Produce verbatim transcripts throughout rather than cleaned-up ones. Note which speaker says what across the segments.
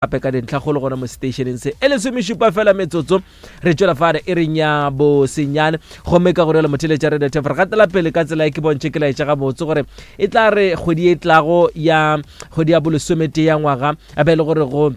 Speaker 1: Gape ka dintlhakgolo gona mo seteišeneng se e lesomešupa fela metsotso re tšwela fare e reng ya bosenyane, gomme ka gore le motheletša re detef re gatela pele ka tsela e ke bontšhe ke laetša gabotse gore e tla re kgwedi e tlago ya kgwedi ya bolesometee ya ngwaga a be e le gore go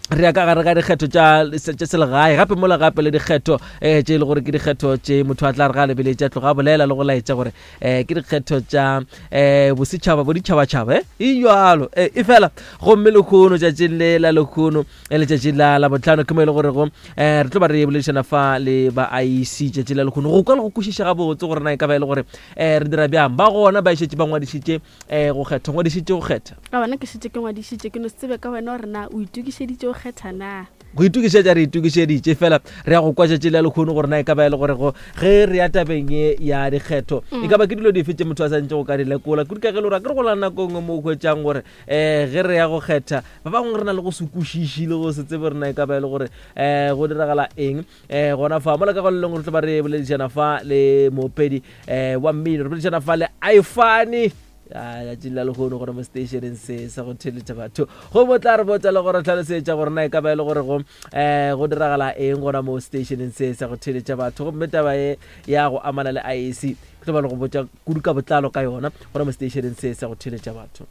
Speaker 1: re ya ka gare ga dikgetho tša tša selegae, gape mola gape le dikgetho um tše e le gore ke dikgetho tše motho a tla re ga lebeletša tloga a bolela le go laetša gore um ke dikgetho tša um bosetšhaba boditšhabatšhaba e jalo e fela. Gomme lekgono tšatšing le la lekgono letšatši la la botlhano ke mo e le gorego um re tlo ba re boledišana fa le ba I E C tšatši la lekgono go kwa le go kwešiša gabotse gore na e ka ba e le gore um re dira bjang. Ba gona ba šetše ba ngwadišitše um go kgetha, ngwadišitše go kgetha.
Speaker 2: Ka bona ke šetše ke ngwadišitše, ke no se tsebe ka wena gore na o itokišeditše go kgetha na.
Speaker 1: Go itokišetša re itokišeditše fela re ya go kwa tšatši la lekgono gore na e ka ba e le gore go ge re ya tabeng ye ya dikgetho e ka ba ke dilo dife tše motho a santse go ka di lekola kudu ka ge le gore a ke re go la nako nngwe mo o hwetšang gore um ge re ya go kgetha ba bangwe re na le go se kwešiše le go se tsebe gore na e ka ba e le gore um go diragala eng um gona fa mola ka go le lengwe re tlo ba re boledišana fa le moopedi um wa mmino, re boledišana fa le Ifani letšatši la lekgono gore mo stationeng se sa go theletša batho go mo tla re botsa le gore tlhalosetša gore na e ka ba e le gore go um go diragala eng gona mo stationeng se sa go theletša batho. Gomme taba ye ya go amana le I E C ke tlo ba le go botša kudu ka botlalo ka yona gona mo stationeng se sa go theletša batho.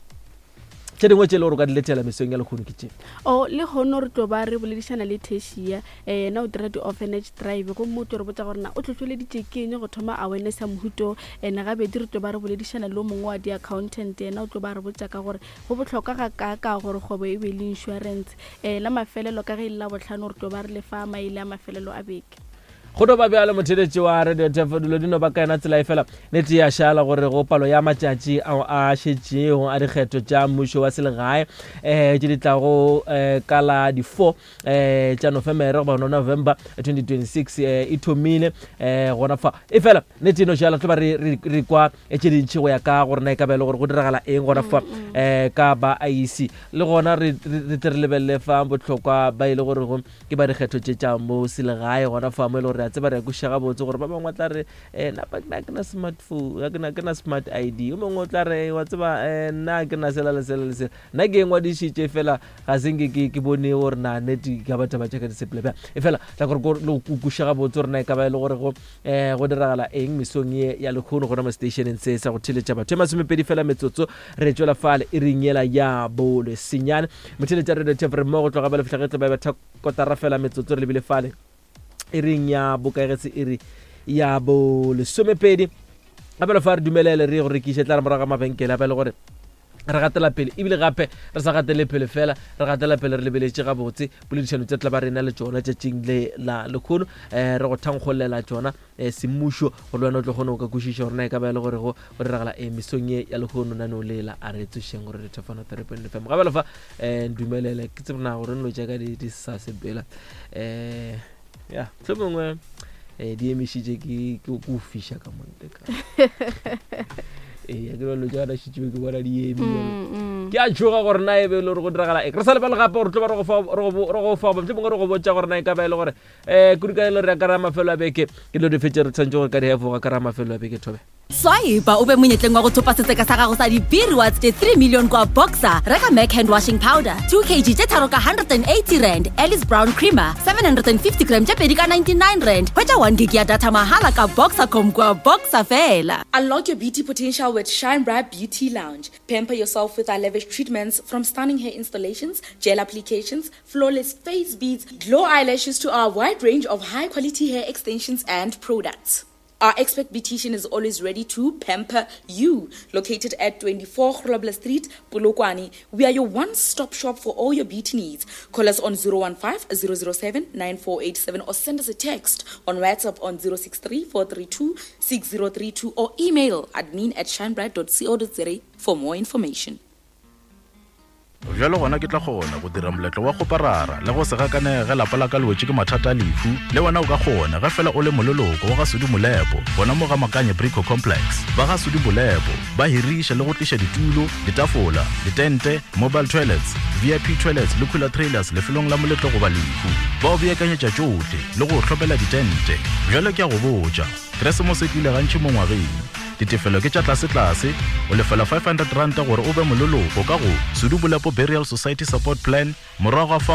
Speaker 1: Tše dingwe tše e le gore o ka di letela mesong ya lekgono ke tše.
Speaker 2: O lekgono re tlo ba re boledišana le Teshia, yena o dira di-orphanage drive, gomme o tlo re botša gore na o hlohleleditše ke eng go thoma awareness ya mohuto. Ene gabedi re tlo ba re boledišana le o mongwe wa di-accountant, yena o tlo ba re botša ka gore go bohlokwa ga kaaka gore kgwebo e be le insurance. Um la mafelelo ka ge e le la bohlano re tlo ba re lefa maele a mafelelo a beke.
Speaker 1: Go no ba bjalo motheletši wa Radio Tefo, dilo di no ba ka yona tsela e fela nete ya šala gore go palo ya matšatši ao a šetšego a dikgetho tša mmušo wa selegae um tše di tlago um ka la di-four um tša Nofemere goba November twenty twenty-six um e thomile um gona fa e fela nete e no šala tlo ba re re kwa tše dintši go ya ka gore na e ka ba e le gore go diragala eng gona fa um ka ba I E C. Le gona re tle re lebelele fa bohlokwa ba e le gore go ke ba dikgetho tše tša mo selegae gona fa mo e le gore re a tseba re a kwešiša gabotse gore ba bangwe ba tla re um napa ke na smartphone, ga ke na smart I D, o mongwe o tla re wa tseba um nna ke na sela le sela le sela, nna ke e ngwadišitše fela ga se nke ke bone gore na nete ka batho ba tšaka di sepele bjang. E fela tla gore le go kwešiša gabotse gore na e ka ba e le gore go um go diragala eng mesong ye ya lekgono gona mo stationeng se sa go theletša batho. E masomepedi fela metsotso re tšwela fale e reng yela ya bolesenyane. Motheletša Radio Tefo re mmogo tloga ba le fihla ge tlo ba betha kotara fela metsotso re lebile fale e reng ya bokaegetse e re ya bolesomepedi. Gape le fa re dumelele re go rekiše tla re morago ga mabenkele a ba le gore re gatela pele, ebile gape re sa gatele pele fela re gatela pele re lebeletše gabotse poledišano tše tla ba rena le tšona tšatšing le la lekgono um re go thankgolela tšona um semmušo gore le wena o tlo kgone go ka kwešiša gore na e ka ba e le gore go diragala eng mesong ye ya lekgono nano lela a re tsošeng gore re thefana three point F M. Gape le fa um ndumelele ke tsebe na gore nlo tša ka di sa sepela um ya hlomongwe um di emišitše ke go fiša ka monte ka ee ke dilo tša gona šetše ke bona di eme ke a tšhoga gore na e be e le gore go diragala eng. Re sa lebale gape gore tlo ba re go fa mohlomongwe re go botša gore na e ka ba e le gore um kudu ka e le gore ya ka ra mafelo a beke ke dilo dife tše re tshwanetse gore ka di hefoga ka ra mafelo a beke thobe.
Speaker 3: Swipe o be monyetleng wa go thopa setseka sa gago sa di-B rewards tše three million kwa Boxer. Reka Mac hand washing powder two kg tše tharo ka one hundred and eighty rand, Alice Brown creamer seven hundred and fifty gram tše pedi ka ninety-nine rand. Hwetša one gig ya data mahala ka Boxercom kwa Boxer fela.
Speaker 4: Unlock your beauty potential with Shine Bright Beauty Lounge. Pamper yourself with our lavish treatments from stunning hair installations, gel applications, flawless face beads, glow eyelashes to our wide range of high quality hair extensions and products. Our expert beautician is always ready to pamper you. Located at twenty-four Grobler Street, Polokwane, we are your one-stop shop for all your beauty needs. Call us on zero one five, zero zero seven, nine four eight seven or send us a text on WhatsApp on zero six three, four three two, six zero three two or email admin at shinebright dot co dot za for more information.
Speaker 5: Bjalo gona ke tla kgona go dira moletlo wa go parara le go se gakanege lapa la ka le wetše ke mathata a lehu. Le wena o ka kgona ge fela o le moleloko wa ga Sudi Molepo gona mo ga Makanye Brico Complex. Ba ga Sudi Molepo ba hiriša le go tliša ditulo, ditafola, ditente, mobile toilets, V I P toilets le cooler trailers lefelong la moletlo goba lehu. Ba o beakanyetša tšohle le go o hlopela ditente. Bjalo ke a go botša, Keresemose e tlile gantši mo ngwageng. Ditefelo ke tša tlasetlase, o lefela five hundred ranta gore o be moleloko ka go Sudu Bolepo Burial Society Support Plan. Morago ga fao